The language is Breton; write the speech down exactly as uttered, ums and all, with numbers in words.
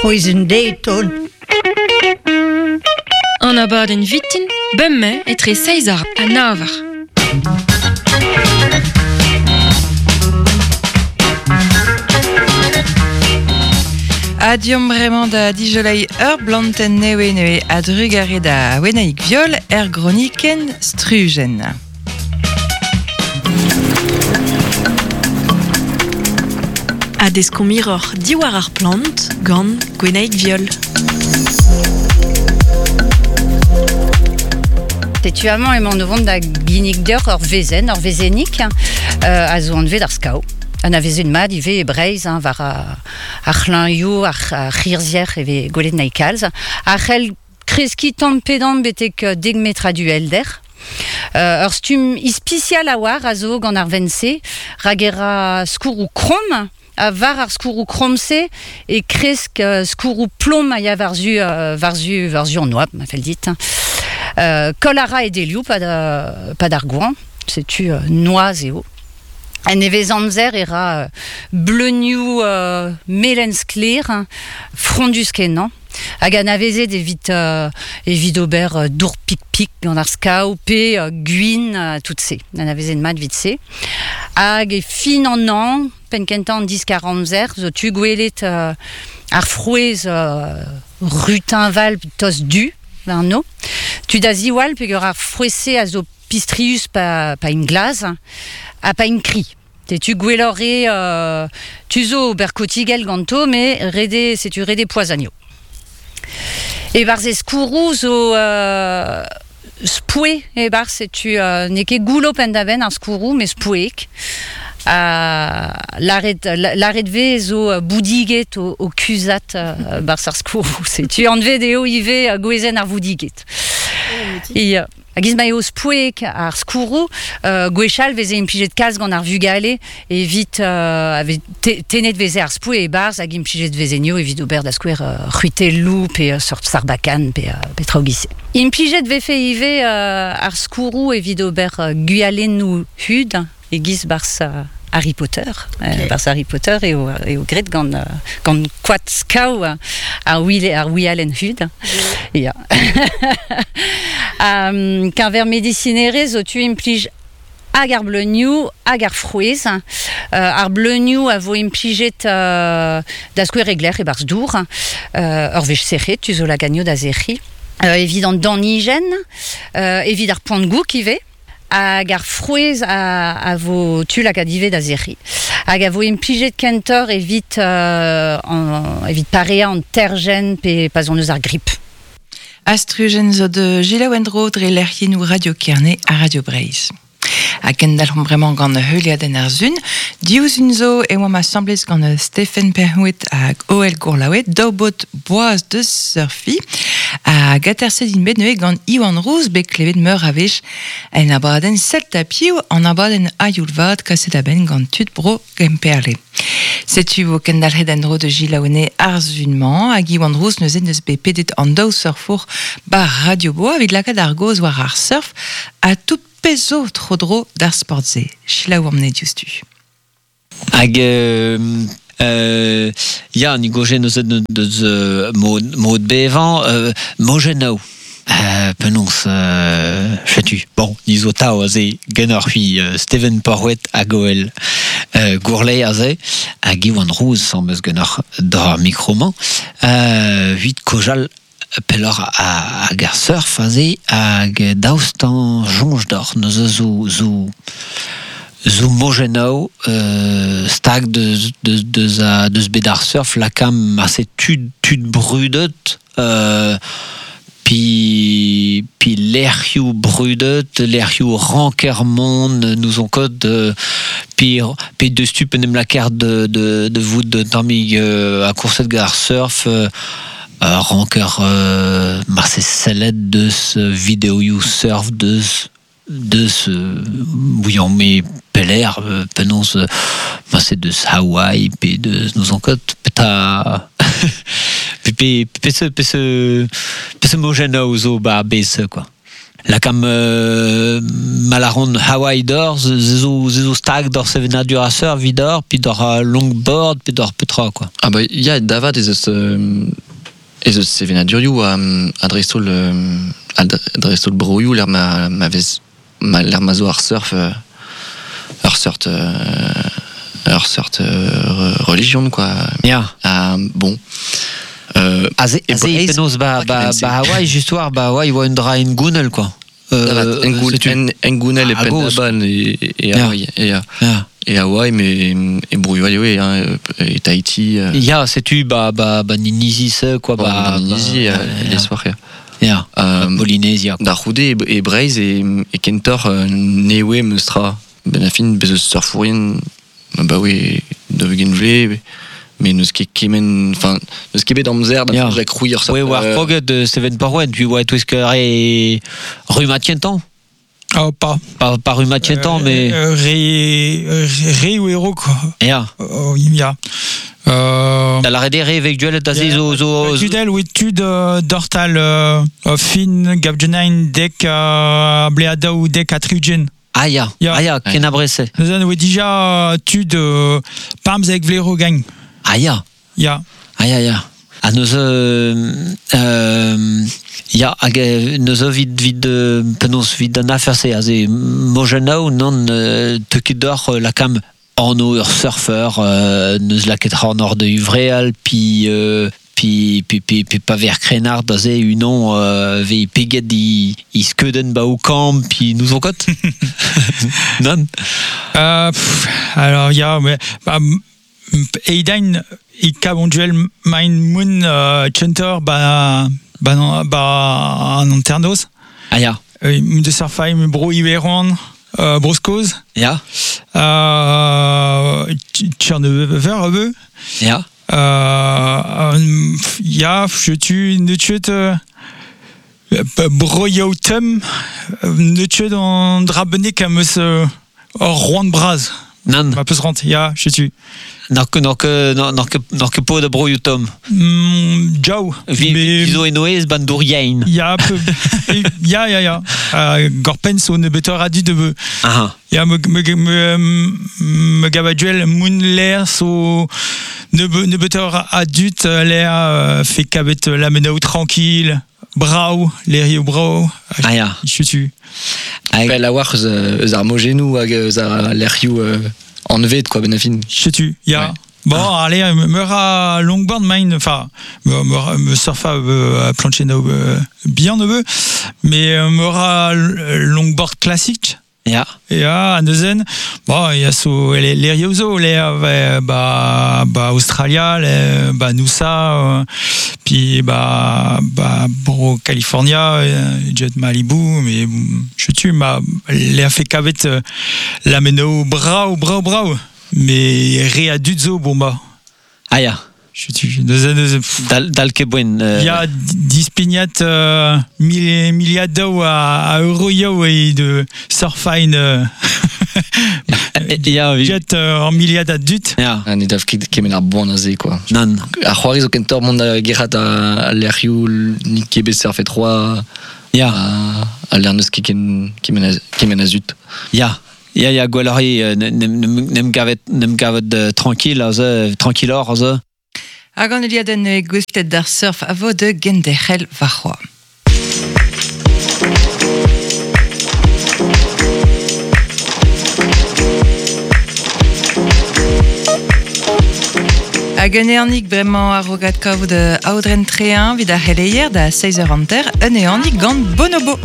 C'hwezh de ton. An abadenn vitin, bemmañ etre seizh eur ha nav eur. Adiom bremañ da dijolei ur blanten newe newe a drugare da wenaik viol er groniken strugen. A deskomiror diwar ar plant gant Gwenaig Viol. Setu amañ emañ o vont da ginnig deoc'h ur vezenn, ur vezennig, euh, a zo anvet ar skao. An a vezen mat ivez e Breizh, hein, war ar c'hlañioù, ar, ar c'hirzier e vez gwelet naik kalz. Ar c'hell kreski tamm pedan betek dek metr a duelder. Euh, ur stumm ispisial a war a zo gant ar vense, rag era skourroù kromm, a war ar skourroù kromm-se e kresk uh, skourroù plom a ya war-zu, uh, war-zu, war-zu an oab, ma fell dit. Euh, kol a ra e delioù, pa da, pa d'ar gouan, setu uh, noaz eo. En nevez amzer e ra bleunioù uh, melen sklaer, frondus kenañ. Hag an avezet evit, uh, evit ober uh, dour pik-pik gant ar skao pe uh, gwin uh, tout se. An avezet mat vit se. Hag e fin an an, penn kentañ an diskar amzer, zo tu gwelet uh, ar frouezh uh, rutinval tost du, war no. Tu da ziwall peogwir ar frouezh-se a zo pistrius pa, pa in glaz, ha pa in kri. Te tu gwelloc'h eo, euh, tu zo ober kotigel ganto, me rede, setu rede poazanio. E barz e skourroù zo euh, spoue, e barz setu euh, n'eo ket goullo penn-da-benn ar skourroù, me spoueek. Uh, laret, laret ve zo boudiget o, o kuzat uh, barz ar skourroù. Setu anvet eo ivez gwezenn ar voudiget. E, uh, hag iz ma eo spoueek ar skourroù, euh, gwechall veze implijet kalz gant ar vugale evit euh, ave te, tenet veze ar spoue e barz hag implijet veze nio evit ober da skouer euh, c'hwitelloù pe uh, sort sarbakan pe, uh, pe traoù giz-se. Implijet vefe ivez euh, ar skourroù evit ober uh, gwialennoù hud e giz barz uh, Harry Potter. Okay. Euh, barz Harry Potter eo, eo graet gant, uh, gant koad skao ar wile, ar wialenn hud. Yeah. um, keñver medisinerezh zo tu implij hag ar bleunioù hag ar frouezh. Uh, ar bleunioù a vo implijet uh, da skouer egler e barz dour. Uh, ur wech sec'het, tu zo laganio da sec'hi. Uh, evit an danijenn, uh, evit ar poan-gouk ivez. Hag ar frouezh a, a vo tu lakaat ivez da sec'hi. Hag a vo implijet kentoc'h evit, euh, an, evit pareañ an terjenn pe pa zon eus ar grip. Astrujen zo de Gila Wendro dre lec'hiennoù Radio Kerne ha Radio Breizh. Ha kendalc'homp bremañ gant heuliadenn ar sun. Diouzh zo e oamp asambles gant Stephen Perhouet hag Oel Gourlaouet, daou baotr boaz deus surfi. Hag aterset int bet neuze gant Iwan Rouz bet klevet meur a wech en abadenn Celta Piv, an abadenn a-youl vat kaset a-benn gant tud bro Gemperle. Setu vo kendalc'het en-dro de Gilaone ar sun-mañ hag Iwan Rouz neuze neus bet pedet an daou surfour bar Radio Boa evit lakaat ar gaoz war ar surf ha tout pezh zo tro-dro d'ar sport-se. Selaou amne diouzhtu. Hag euh, euh, ya, ni goje neuze deus euh, mod, mod bevañ, euh, mojennoù. Euh, penaos, euh, chetu. Bon, ni zo tao aze genoc'h hui euh, Steven Porwet hag Oel euh, Gourlay aze, hag Iwan Rouz sans meus genoc'h d'ar mikroman. Euh, huit kojal pelloc'h hag ar surf aze hag daoust an soñj d'or neuze zo zo zo mojennoù euh, stag deus deus deus a deus bet ar surf lakam ase tud tud brudet euh, pi pi lec'hioù brudet lec'hioù rankermont nous on kod euh, pi pi deus tu penem lakaer de de de vout de tammig euh, a kourset gant ar surf euh, Euh, ranker euh, marse sellet deus videoioù surf deus deus euh, bouillant me peler euh, penaos euh, marse deus Hawaï pe deus nous en kot peta pe pe pe se pe se pe se mojennoù zo ba bes quoi. Lakam euh, malaron Hawaii d'or, ze zo, ze zo stag d'or sevenadur a surf vidor, puis d'or uh, longboard, puis d'or petra, quoi. Ah bah ya davat ez eus euh, ez eus sevenadurioù a, a dreistol euh, a dreistol broioù l'er ma, ma vez ma l'er ma zo ar surf euh, ur seurt euh, ur seurt euh, religion quoi. Ya. Ah, bon. Euh, Aze, E aze Breizh, penaos ba, ba, kement-se. ba Hawaii, just war, ba Hawaii oa un dra en gounel, quoi. Euh, Euh, setu. en, en gounel e Ah, goz. Pendaban e, e Ya. Hawaii e, Ya. e Hawaii mais e broioù all eo, hein, e Tahiti euh, Ya, setu ba, ba, ba Ninizi se, quoi, ba, ba, Ninizi ba, euh, les soirs ya. Ya. Euh, Polynésia. Da c'houde e, e Breizh e, e kentor euh, newe meustra ben a fin bez eus surfourien bah oui de ugent vle mais neus ket kemen enfin neus ket bet amzer da Ya. yeah. krouiñ ur seurt Ouais, war euh, kroget de Seven Porwen, tu vois, tout ce que re Ruma Tientan. Oh, pas. Pas, pas Ruma Tientan, mais. Euh, Ré, ré ou héros, quoi. Ya. Oh, ya. Euh, Da la redere avec duel da ze zo zo Tudel oui tud euh, dortal euh, euh, fin gabgenain dek euh, bleadaou dek atriugen. Ah ya, Ya. ah ya, ken abrese. Neuzen oe dija euh, tud euh, pamzek vlero gang. Ah ya, Ya. ah ya ya. Ah neus euh, euh, ya hag euh, neus vid vid euh, penaos vid an afer-se aze mojennaou non euh, te ket d'or euh, lakam anv ur surfer euh, neus laket c'horn or de uvreal pi euh, pi pi pi pi pa ver krenard aze unon euh, ve peget i, i skeuden ba o kamp pi nous on kot Non Euh, pff, alors ya mais bah, m- eidain e kab on duel main moun euh, chunter ba ba non, ba an anternoz. Ah ya, Euh, moun de surfaim bro iweron euh, broskoz. ya, Euh, Tchernever ebe. ya. Euh, euh, ya, je tu ne tuet euh, broioù tem ne tuet an drabenek am eus euh, ur roan braz. Nan. Ma peus rant, ya, je tu. N'ar ket n'ar ket n'ar ket n'ar ket pod a broioù tom. Mm, Jau. Vi Mais- vi zo enoez ban douriein. Ya, peu, ya, ya, ya. Euh, Gorpen so ne betor adu de beu. Ah Ya, me, me, me, me gabaduel moun l'air so ne, be, ne betor adut l'air euh, fait kabet la menao tranquille, brau, l'air brau. ah ya. Je tu. Hag, Pell a war eus, eus ar mojennoù hag eus ar lec'hioù euh, anvet quoi ben a fin. Je tu. Ya. Ouais. Bon, allez, me, me ra longboard mine, enfin, me, me, me surfa euh, plancher no, euh, bien neveu, mais euh, me ra longboard classique. ya. Ya, an neuzen, bon, ya so les les riozo, les euh, ba ba Australia, les ba Noosa, euh, puis ba ba bro California, euh, jet Malibu, mais je tu ma les a fait kavet euh, la meno brau brau brau, mais re adut zo bon ba. Ah ya. Je tu neuzen neuzen pff, Dal, dal ket boen. Euh, Ya dispignat euh, mil, miliadoù a, a euroioù e de surfine euh, ya, vi, jet euh, en miliad a dut. ya. Ah, ne dav ket kemen ar boan aze quoi. Nan. Ar c'hoari zo kentor mont da gerc'hat a, a lec'hioù nik ket bet surfet roa Ya, a, a lec'h neus ket ken kemen a, kemen a zut. ya. Ya, ya, gwelloc'h eo, nem, nem, nem gavet, nem gavet euh, tranquille, aze, tranquilloc'h, aze. Hag an eliadenn e gouestlet d'ar surf a vo de genderc'hel varc'hoa. Hag un eanik bremañ ar rogat kavout aodren trein vid ar c'heleier da seiz eur hanter, un eanik gant Bonobo.